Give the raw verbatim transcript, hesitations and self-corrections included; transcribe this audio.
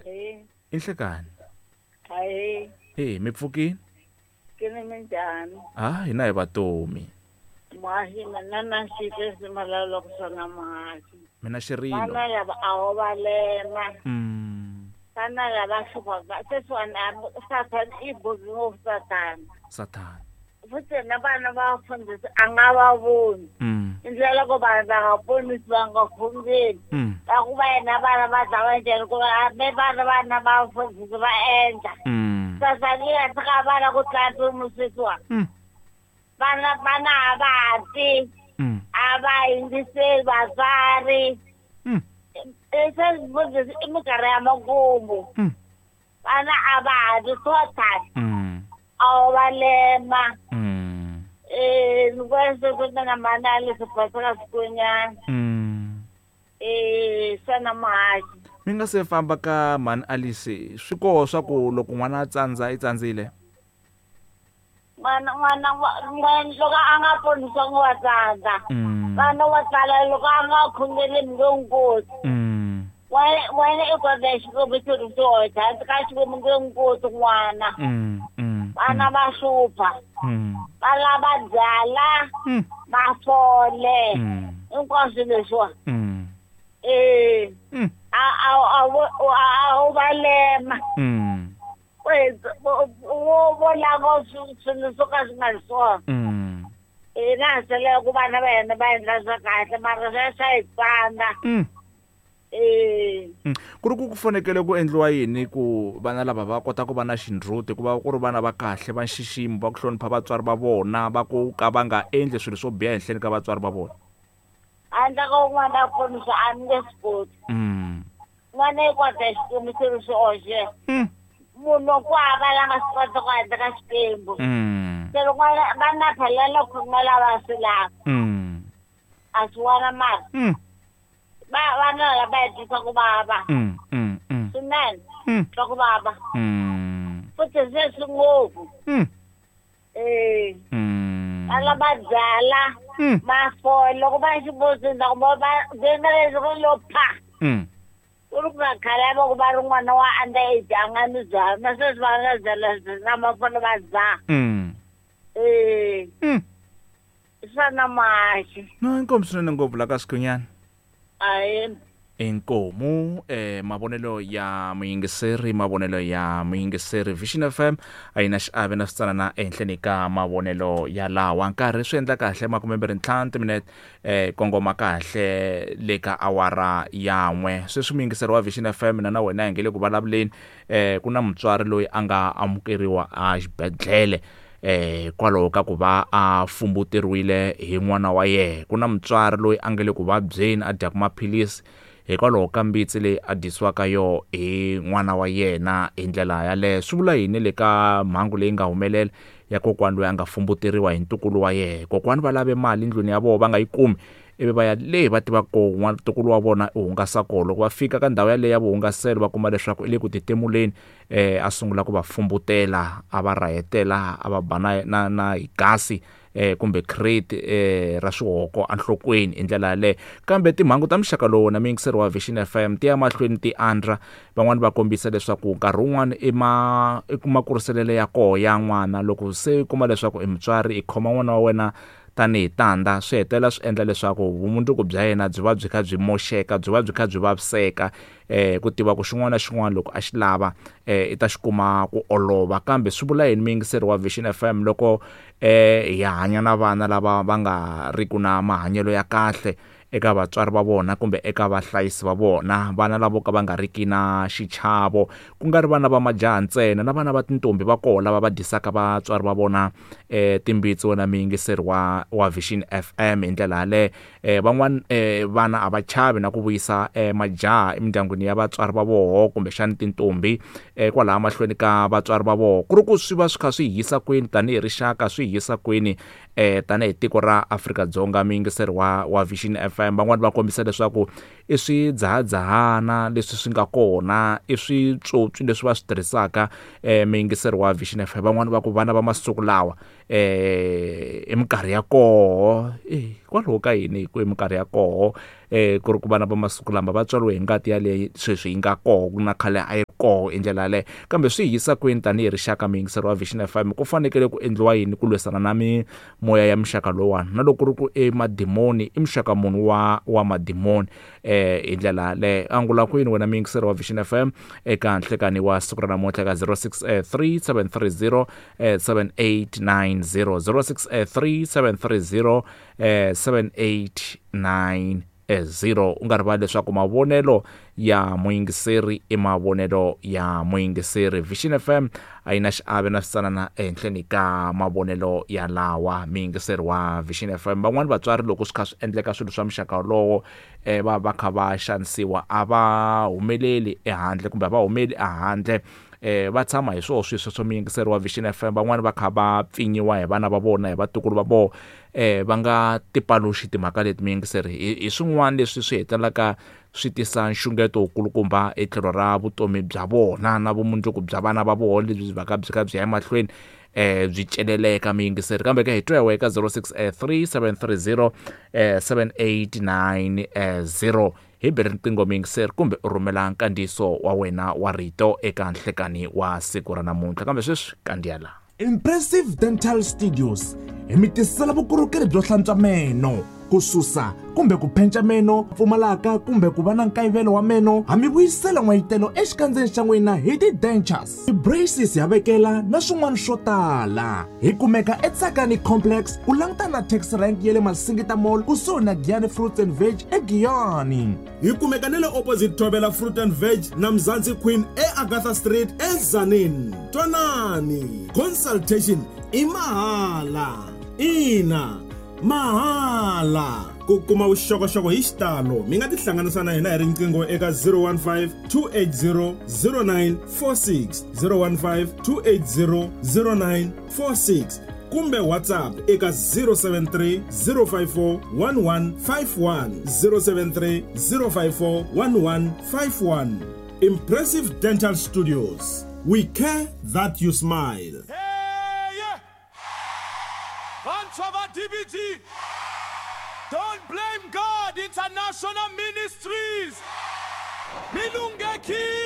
Ahee. I nhlekani. Ahee. Eh, mi pfukini? Ke ni minjhani? Ah, hina hi vatomi. Muhaxi mina na xitesi malalo ku swona muhaxi. Mina xirilo. Vana lava a ho va lema. Mm. Vana lava hluphaka sweswiwani a Sathana i busy ngopfu Sathana. Sathana. Futhi na vana va vafundhisi a nga va voni. Mm. I ndlela ku vanhu va nga ponisi va nga khongeli. Mm. Va ku va yena vana va dlawa njhani ku va me vana vana va vafundhisi va endla. Mm. Sathana yi nga tshika vana ku tlula mpimo sweswiwani. Mm. Vana vana a va ha ti. Mm. A va yingiseli vatswari. Mm. Se mfundhisi i minkarhi ya makumu. Mm. Vana a va ha ti total. Mm. A wu va lema. Mm. Eh, ni vona se ku na mhani a le swibasela swikonyana. Mm. Eh, xana muhaxi. Mi nga se famba ka mhani Alice, swi koho swa ku loko n'wana a tsandza i tsandzile? N'wana n'wana n'wana loko a nga ponisiwangi wa tsandza. Mm. Vana wa tsala loko a nga khongeli mi nge n'wi koti. Mm. Wena wena i kota Xikwembu xi ri xoxe, handle ka Xikwembu nge n'wi koti n'wana. Mm. Mm. Vana va hlupha. Mm. Va lava byala, Mm. mafole. Mm. Hinkwaswo leswiwa. Mm. Eh. Mm. A a a a wu va lema. Mm. Wo vo lava swilo swo ka swi nga ri swona. Mm. Hina ha sele ku vana va hina va endla swa kahle mara swa swa hi tsandza. Mm. Eh. Mm. Ku ri ku ku fanekele ku endliwa yini ku vana lava va kota ku va na xindzuti ku va ku ri vana va kahle va nxiximo va ku hlonipha vatswari va vona va ku ka va nga endli swilo swo biha ehenhleni ka vatswari va vona? Handle ko n'wana a ponisa a ni nge swi koti. Mm. N'wana i kota Xikwembu xi ri xoxe. Mm. Munhu ku hava la nga swi kota ku handle ka Xikwembu. Mm. Se loko n'wana vana phela loko khongela va swi lava. Mm. A swi vona mara. Mm. Va vana lava va hi twisa ku vava. Mm, mm, mm. Swinene. Mm. Twa ku vava. Mm. Futhi se swi ngopfu. Mm. Eh. Mm. Va lava byala. Mm. Mafole loko va xibozini loko va va venga leswi ri lo pha. Mm. Ku ri ku nga khale va ku va ri n'wana wa under age a nga ni byala na sweswi va nga byala na mafole va dzaha. Mm. Eh. Mm. Xana muhaxi. No, inkomu swinene ngopfu la ka Sikhunyana. Ahee. Inkomu eh mavonelo ya muyingiseri mavonelo ya muyingiseri Vision F M a yi na xiave na switsanana ehenhleni ka mavonelo ya lawa nkarhi swi endla kahle makume mbirhi ntlhanu timinete eh kongoma kahle le ka awara ya n'we sweswi muyingiseri wa Vision F M na na wena hi nge le ku vulavuleni eh ku na mutswari loyi a nga amukeriwa a xibedhlele eh kwalaho ka ku va a fumbuteriwile hi n'wana wa yena ku na mutswari loyi a nge le ku vabyeni a dyaka maphilisi hikwalaho ka mbitsi leyi a dyisiwaka yo hi n'wana wa yena hi ndlela yaleyo swi vula yini le ka mhangu leyi nga humelela ya kokwani loyi a nga fumbuteriwa hi ntukulu wa yena kokwani va lave mali endlwini ya vona va nga yi kumi ivi va ya le va tivaka ko n'wana ntukulu wa vona u hungasa kona loko va fika ka ndhawu yaleyo ya vuhungaselo va kuma leswaku i le ku titimuleni eh a sungula ku va fumbutela a va rahetela a va ba na na na hi gasi eh kumbe crate eh ra swihoko enhlokweni hi ndlela yaleyo kambe timhangu ta muxaka lowu na muyingiseri wa Vision F M ti ya mahlweni ti andra van'wani va kombisa leswaku nkarhi wun'wani i ma i kuma kuriselele ya koho ya n'wana loko se u kuma leswaku i mutswari i khoma n'wana wa wena tanihi tanda swi hetelela swi endla leswaku vumundzuku bya yena byi va byi kha byi moxeka byi va byi kha byi vaviseka eh ku tiva ku xin'wana na xin'wana loko a xi lava eh i ta xi kuma ku olova kambe swi vula yini muyingiseri wa Vision F M loko eh hi hanya na vana lava va nga ri ku na mahanyelo ya kahle eka vatswari va vona kumbe eka vahlayisi va vona vana lavo ka va nga riki na xichavo ku nga ri vana va majaha ntsena na vana va tintombi va koho lava va dyisaka vatswari va vona eh timbitsi wena muyingiseri wa wa Vision F M hi ndlela yaleyo eh van'wana eh vana a va chavi na ku vuyisa eh majaha emindyangwini ya vatswari va voho kumbexana tintombi eh kwalaha mahlweni ka vatswari va voho ku ri ku swi va swi kha swi hisa kwini tanihi rixaka swi hisa kwini eh tanihi tiko ra Afrika-Dzonga muyingiseri wa wa Vision F M van'wani va kombisa leswaku I swidzahadzahana leswi swi nga kona, i switswotswi leswi va swi tirhisaka eh muyingiseri wa Vision F M. Van'wani va ku vana va masiku lawa eh i minkarhi ya koho, eh hikwalaho ka yini ku i minkarhi ya koho eh ku ri ku vana va masiku lama va tswariwe hi ngati yaleyo sweswi yi nga koho ku na khale a yi koho hi ndlela yaleyo. Kambe swi hi yisa kwini tanihi rixaka muyingiseri wa Vision F M? Ku fanekele ku endliwa yini ku lwisana na mimoya ya muxaka lowuwani? Na loko ku ri ku i madimoni, i muxaka munhu wa wa madimoni eh hi ndlela yaleyo. Angula kwini wena muyingiseri wa Vision F M eka nhlekani wa siku ra namuntlha ka zero six three seven three zero seven eight nine zero, zero six three seven three zero seven eight nine zero. U nga rivali leswaku mavonelo ya muyingiseri i mavonelo ya muyingiseri. Vision F M a yi na xiave na switsanana ehenhleni ka mavonelo ya lawa muyingiseri wa Vision F M. Van'wani vatswari loko swi kha swi endleka swilo swa muxaka wolowo eh va va kha va xanisiwa, a va humeleli ehandle kumbe a va humeli ehandle, eh va tshama hi swoho swilo sweswo muyingiseri wa Vision F M. Van'wani va kha va pfinyiwa hi vana va vona, hi vatukulu va vona, eh va nga tipaluxi timhaka leti muyingiseri. Hi swin'wana leswi swi hetelelaka swi tisa nxungeto wukulukumba etlhelo ra vutomi bya vona na vumundzuku bya vana va vona lebyi byi va ka byi kha byi ya emahlweni eh byi celeleka muyingiseri. Kambe ke hi twa eka zero six three seven three zero seven eight nine zero hi beri riqingho muyingiseri kumbe u rhumela nkandziyiso wa wena wa rito eka nhlekani wa siku ra namuntlha. Kambe sweswi kandziya laha Impressive Dental Studios hi mi tisela vukorhokeri byo hlantswa meno, ku susa kumbe ku phenca meno pfumalaka kumbe ku va na nkayivelo wa meno. Ha mi vuyisela n'wayitelo exikandzeni xa n'wina hi ti-dentures, ti-braces ya vekela na swin'wana swo tala. Hi kumeka eTsakani Complex ku langutana na taxi rank ya le Masingita Mall kusuhi na Giyani Fruits and Veg eGiyani. Hi kumeka na le opposite Thobela Fruit and Veg na Mzansi Queen eAgatha Street eZanini. Twanani, consultation i mahala. Ina, mahala. Ku kuma vuxokoxoko hi xitalo mi nga tihlanganisa na hina hi riqingho eka zero one five two eight zero zero nine four six, zero one five two eight zero zero nine four six kumbe WhatsApp eka zero seven three zero five four one one five one, zero seven three zero five four one one five one. Impressive Dental Studios, we care that you smile. Hey, yeah. D B G. Don't blame God International Ministries. Milungeki.